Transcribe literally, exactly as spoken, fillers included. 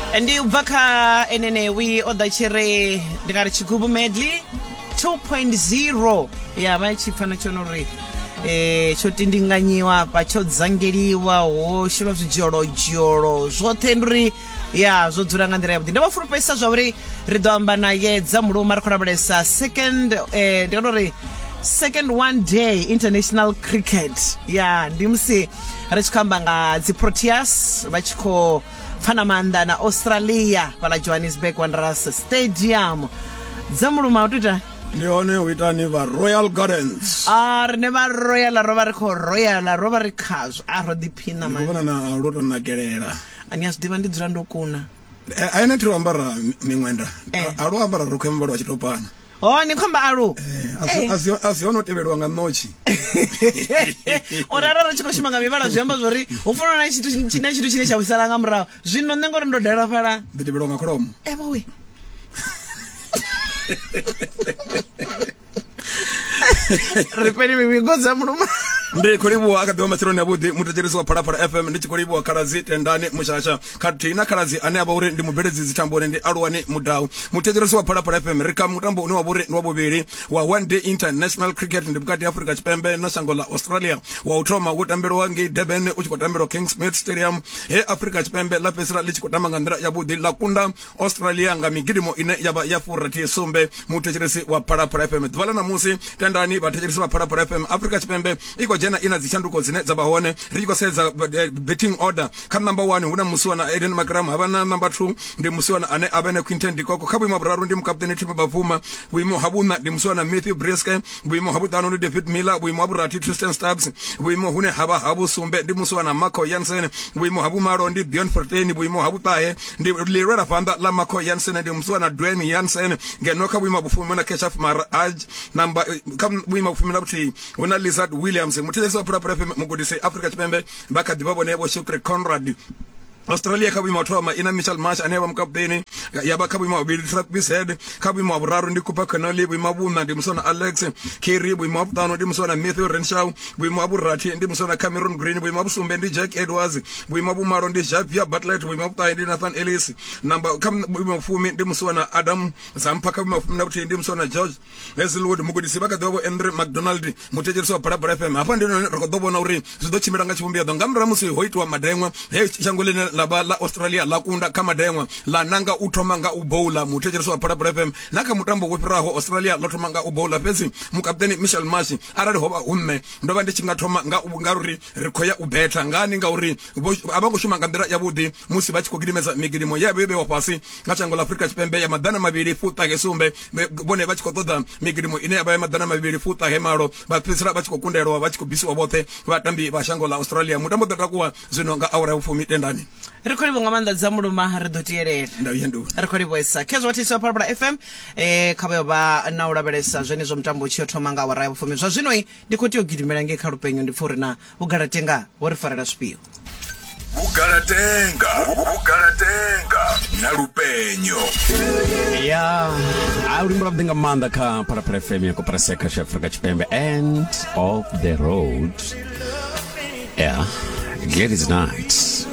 Ndi u bva kha enenewi o ḓa tshi ri ndi nga ri tshigubu medley two point zero ya vha tshi pfa na tshone uri eh tsho tindinganyiwa afha, tsho dzangeliwa, ho shelwa zwidzholodzholo zwoṱhe, ndi uri ya zwo dzula nga nḓila yavhuḓi. Ndo vha fulufhedzisa zwa uri ri ḓo amba naye dza muluma, ri khou lavhelesa second, eh, ndi nga uri second one day international cricket ya ndi musi ri tshi khou amba nga dzi Proteas vha tshi khou pfana maanḓa na Australia fhala Johannesburg Wanderers Stadium. Dza muluma, u ita? Ndi hone, u itani vha Royal Gardens? A rine vha Royal, ro vha ri khou royal, ro vha ri khazwo, a ro ḓiphina. Ndi mani. Vhona na lwo to nakelela. Ani a zwi ḓivha, ndi dzula ndo kuna. Eh, a ene thi lo ambara miṅwenda. Eh. A lo ambara rokho ya muvhala wa tshitopana. Ho ni khomba alu. A si a si ono tevheliwa nga ṋotshi. Uri arali ri tshi khou shuma nga mivhala, zwi amba zwori hu funa na tshithu na tshithu tshine tsha vhuisala nga murahu. Zwino nṋe ngori ndo dala fhala. Ḓi tevheliwa nga kholomo. Evowe, ri fheli mivhigo dza muluma. Ndi khou livhuwa, a kha ḓivha matsheloni avhuḓi muthetshelesi wa Phalaphala F M. Ndi tshi khou livhuwa khaladzi Tendani Mushasha khathihi na khaladzi ane a vha uri ndi mubveledzi dzithamboni, ndi Aluwani Mudau. Muthetshelesi wa Phalaphala F M, ri kha mutambo une wa vha uri ndi wa vhuvhili wa one day international cricket, ndi vhukati ha Afrika Tshipembe na shango ḽa Australia. Wa u thoma wo tambelwa ngei Durban, u tshi khou tambelwa Kingsmead Stadium, he Afrika Tshipembe ḽa fhedzisela ḽi tshi khou tamba nga nḓila yavhuḓi, ḽa kunda Australia nga migidimo ine ya vha ya furathi sumbe. Muthetshelesi wa Phalaphala F M, ḓuvha ḽa ṋamusi, Tendani, vhathetshelesi vha Phalaphala F M, Afrika Tshipembe i khou dzhena i na dzitshanduko dzine dza vha hone. Ri tshi khou sedza eh, betting order, kha number one hu na musiwana Aiden Markram, havha na number two ndi musiwana ane a vha ne Quinton de Kock, kha vhuimo ha vhuraru ndi mukaputeni Temba Bavuma, vhuimo ha vhuṋa ndi musiwana Matthew Breetzke, vhuimo ha vhuṱanu ndi David Miller, vhuimo ha vhurathi Tristan Stubbs, vhuimo hune ha vha ha vhusumbe ndi musiwana Marco Jansen, vhuimo ha vhumalo ndi Bjorn Fortuin, vhuimo ha vhuṱahe ndi ḽilwela phanḓa ḽa Marco Jansen, ndi musiwana Dwayne Jansen, ngeno kha vhuimo ha vhufumi na Keshav Maharaj, namba kha vhuimo ha vhufumi na vhuthihi hu na Lizaad Williams. Muthetshelesi wa Phalaphala F M, mugudisi Afrika Tshipembe vha kha ḓivha vhone Vho Shukri Conrad. Australia kha vhuimo ha u thoma ina Mitchell Marsh ane a vha mukaputeni, ya vha kha vhuimo ha vhuvhili Travis Head, kha vhuimo ha vhuraru ndi Cooper Connolly, vhuimo ha vhuṋa ndi muswana Alex Carey, vhuimo ha vhuṱanu ndi muswana Matthew Renshaw, vhuimo ha vhurathi ndi muswana Cameron Green, vhuimo ha vhusumbe ndi Jack Edwards, vhuimo ha vhumalo ndi Xavier Bartlett, vhuimo ha vhuṱahe ndi Nathan Ellis, namba kha vhuimo ha vhufumi ndi muswana Adam Zampa, kha vhuimo ha fumi na vhuthihi ndi muswana George Hazlewood. Mugudisi vha kha ḓivha Vho Andrew McDonald. Muthetshelesi wa Phalaphala F M, hafha ndi hone ri khou ḓo vhona uri zwi ḓo tshimbila nga tshivhumbeo nga murahu musi ho itiwa madeṅwa, he shango ḽine ḽa vha ḽa Australia ḽa kunda kha madeṅwa, ḽa nanga u thoma nga u bowla. Muthetshelesi wa Phalaphala F M, na kha mutambo wo fhiraho Australia ḽo thoma nga u bowla, fhedzi mukaputeni Mitchell Marsh, arali ho vha hu nṋe, ndo vha ndi tshi nga thoma nga nga uri ri khou ya u betha ngani, ngauri a vha khou shuma nga nḓila yavhuḓi musi vha tshi khou gidimedza migidimo ye ya vha yo vhewa fhasi nga shango ḽa Afrika Tshipembe ya maḓana mavhili fuṱahe sumbe, vhone vha tshi khou ṱoḓa migidimo ine ya vha ya maḓana mavhili fuṱahe malo, vha fhedzisela vha tshi khou kundelwa, vha tshi khou bisiwa vhoṱhe vhatambi vha shango ḽa Australia. Mutambo ḓo takuwa zwino nga awara ya vhufumi, Tendani. Ri khou livhuwa nga maanḓa dza muluma, ri ḓo tielela. Ndau ya nduni. Ri khou livhuwesa khezwo vhathisi wa Phalaphala F M, eh kha vha vha na u lavhelesa zwenezwo mutambo u tshi yo thoma nga awara ya vhufumi. Zwa zwino ndi khou tea u gidimela ngei kha lupenyo, ndi pfha uri na vhugalatenga vho ri farela zwifhio. Vhugalatenga, vhugalatenga na lupenyo. Ya, a luimbo lwavhuḓi nga maanḓa kha Phalaphala F M ya koporasi ya khasho ya Afrika Tshipembe, End of the Road, yeah, Gladys Knight.